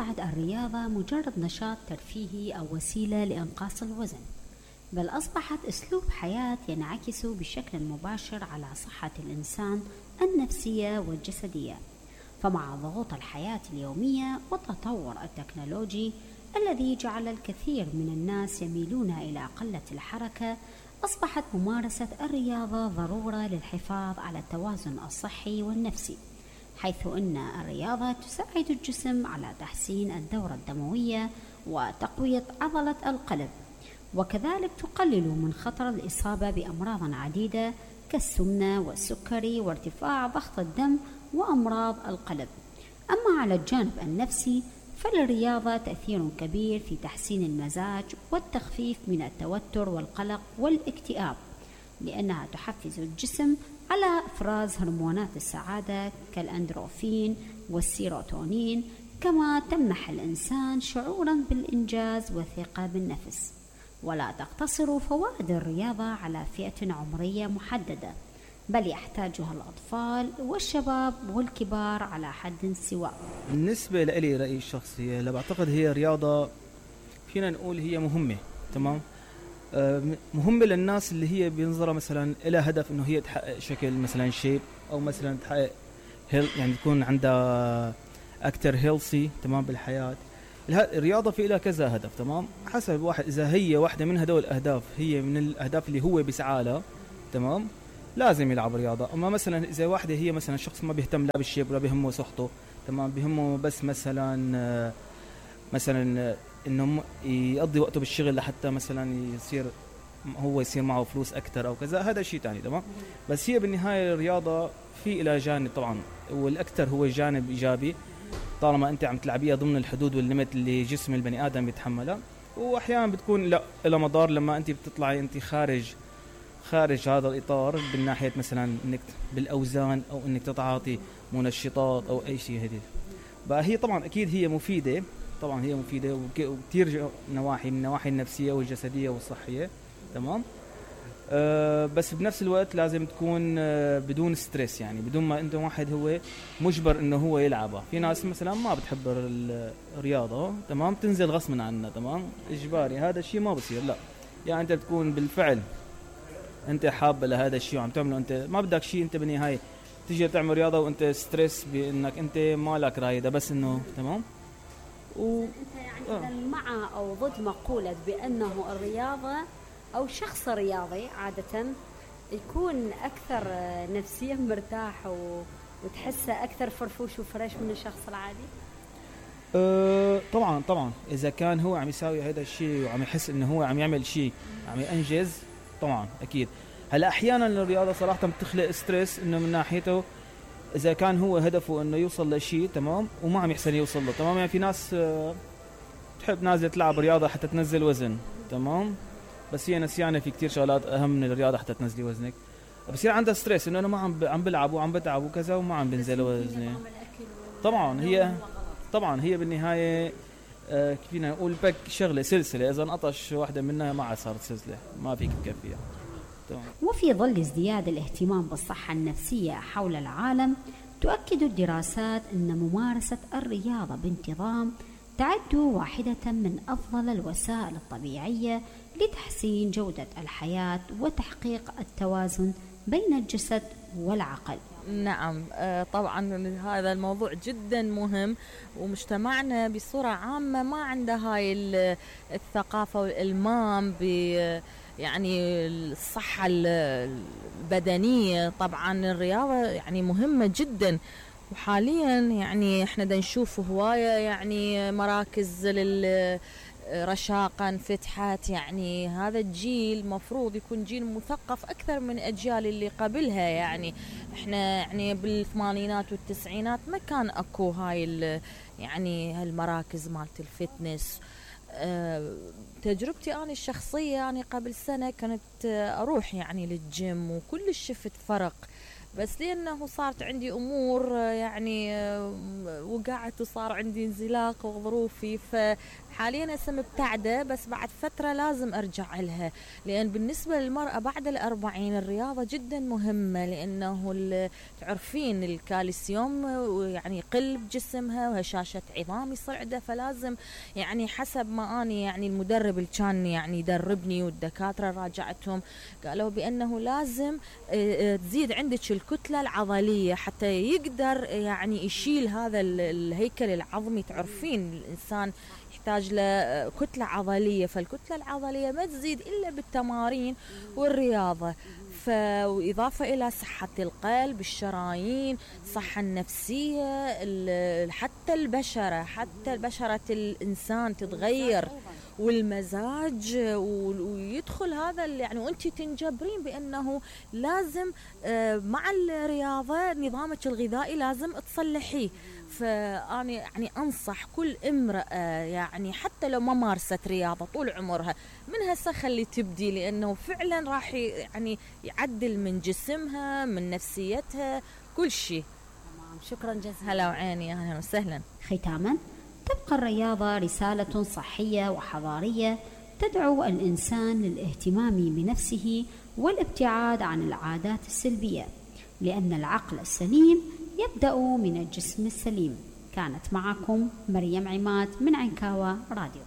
بعد الرياضة مجرد نشاط ترفيهي أو وسيلة لإنقاص الوزن، بل أصبحت أسلوب حياة ينعكس بشكل مباشر على صحة الإنسان النفسية والجسدية. فمع ضغوط الحياة اليومية والتطور التكنولوجي الذي جعل الكثير من الناس يميلون إلى قلة الحركة، أصبحت ممارسة الرياضة ضرورة للحفاظ على التوازن الصحي والنفسي، حيث أن الرياضة تساعد الجسم على تحسين الدورة الدموية وتقوية عضلة القلب، وكذلك تقلل من خطر الإصابة بأمراض عديدة كالسمنة والسكري وارتفاع ضغط الدم وأمراض القلب. أما على الجانب النفسي فللرياضة تأثير كبير في تحسين المزاج والتخفيف من التوتر والقلق والاكتئاب، لأنها تحفز الجسم على إفراز هرمونات السعادة كالأندروفين والسيروتونين، كما تمنح الإنسان شعورا بالإنجاز والثقة بالنفس. ولا تقتصر فوائد الرياضة على فئة عمرية محددة، بل يحتاجها الأطفال والشباب والكبار على حد سواء. بالنسبة لي رأيي الشخصي، لا بعتقد هي رياضة فينا نقول هي مهمة، تمام، مهمة للناس اللي هي بينظرها مثلا إلى هدف إنه هي تحقق شكل مثلا شيب، أو مثلا تحقق يعني تكون عندها أكتر هيلثي، تمام، بالحياة. الرياضة في لها كذا هدف، تمام، حسب واحد. إذا هي واحدة من هدول الأهداف هي من الأهداف اللي هو بيسعى لها، تمام، لازم يلعب رياضة. أما مثلا إذا واحدة هي مثلا شخص ما بيهتم لا بالشيب ولا بيهمه صحته، تمام، بيهمه بس مثلا إنه يقضي وقته بالشغل لحتى مثلا يصير معه فلوس أكتر أو كذا، هذا شيء تاني، تمام. بس هي بالنهاية الرياضة في إلى جانب طبعا، والأكثر هو جانب إيجابي طالما أنت عم تلعبيها ضمن الحدود والليمت اللي جسم البني آدم بيتحملها. وأحيانا بتكون لا إلى مضار لما أنت بتطلعي أنت خارج هذا الإطار، بالناحية مثلا إنك بالأوزان أو إنك تتعاطي منشطات أو أي شيء. هذه بقى هي طبعا أكيد هي مفيدة، طبعا هي مفيدة وكتير نواحي، من النواحي النفسية والجسدية والصحية، تمام. بس بنفس الوقت لازم تكون بدون ستريس، يعني بدون ما انت واحد هو مجبر انه هو يلعبها. في ناس مثلا ما بتحب الرياضة، تمام، تنزل غصبا عنها، تمام، اجباري، هذا الشيء ما بصير، لا. يعني انت بتكون بالفعل انت حابة لهذا الشيء وعم تعمله، انت ما بدك شيء، انت بالنهاية تيجي تعمل رياضة وانت ستريس بانك انت ما لك راي، ده بس انه تمام. انت يعني مع او ضد مقولة بانه الرياضة أو شخص رياضي عادة يكون أكثر نفسيا مرتاح وتحسه أكثر فرفوش وفريش من الشخص العادي؟ طبعا إذا كان هو عم يساوي هذا الشيء وعم يحس إنه هو عم يعمل شيء عم ينجز، طبعا أكيد. هلا أحيانا الرياضة صراحة بتخلق ستريس، إنه من ناحيته إذا كان هو هدفه إنه يوصل لشيء، تمام، وما عم يحسن يوصل له، تمام. يعني في ناس تحب نازلة تلعب رياضة حتى تنزل وزن، تمام، بس هي نسيانة في كتير شغلات أهم من الرياضة حتى تنزلي وزنك. بصير عندها ستريس إنه أنا ما عم بلعب وعم بتعب وكذا وما عم بنزل وزني. طبعا هي بالنهاية فينا نقول بك شغلة سلسلة، إذا انقطش واحدة منها ما عاد صارت سلسلة، ما فيك تكفيها. وفي ظل ازدياد الاهتمام بالصحة النفسية حول العالم، تؤكد الدراسات أن ممارسة الرياضة بانتظام تعد واحدة من أفضل الوسائل الطبيعية لتحسين جودة الحياة وتحقيق التوازن بين الجسد والعقل. نعم، طبعا هذا الموضوع جدا مهم، ومجتمعنا بصورة عامة ما عنده هاي الثقافة والإلمام يعني الصحة البدنية. طبعا الرياضة يعني مهمة جدا، وحاليا يعني احنا دا نشوف هواية يعني مراكز رشاقا فتحت. يعني هذا الجيل مفروض يكون جيل مثقف أكثر من أجيال اللي قبلها. يعني إحنا يعني بالثمانينات والتسعينات ما كان أكو هاي يعني هالمراكز مالت الفتنس. تجربتي أنا الشخصية يعني قبل سنة كانت أروح يعني للجيم، وكل شفت فرق بس لأنه صارت عندي أمور يعني وقعت وصار عندي انزلاق وظروفي، فحاليا هسه مبتعدة، بس بعد فترة لازم أرجع لها. لأن بالنسبة للمرأة بعد 40 الرياضة جدا مهمة، لأنه تعرفين الكالسيوم يعني يقل بجسمها وهشاشة عظام يصير عندها، فلازم يعني حسب ما أني يعني المدرب اللي كان يعني يدربني والدكاترة راجعتهم قالوا بأنه لازم تزيد عندك الكتلة العضلية حتى يقدر يعني يشيل هذا الهيكل العظمي. تعرفين الإنسان يحتاج له كتلة عضلية، فالكتلة العضلية ما تزيد إلا بالتمارين والرياضة. وإضافة إلى صحة القلب، الشرايين، الصحة النفسية، حتى البشرة الإنسان تتغير والمزاج، ويدخل هذا يعني وانت تنجبرين بأنه لازم مع الرياضة نظامك الغذائي لازم تصلحيه. فأنا يعني أنصح كل امرأة يعني حتى لو ما مارست رياضة طول عمرها من هسه خلي تبدي، لأنه فعلا راح يعني يعدل من جسمها من نفسيتها كل شيء. شكرا جزيلا. هلا وعيني، أهلا وسهلا. ختاما، تبقى الرياضة رسالة صحية وحضارية تدعو الإنسان للاهتمام بنفسه والابتعاد عن العادات السلبية، لأن العقل السليم يبدأ من الجسم السليم. كانت معكم مريم عماد من عنكاوى راديو.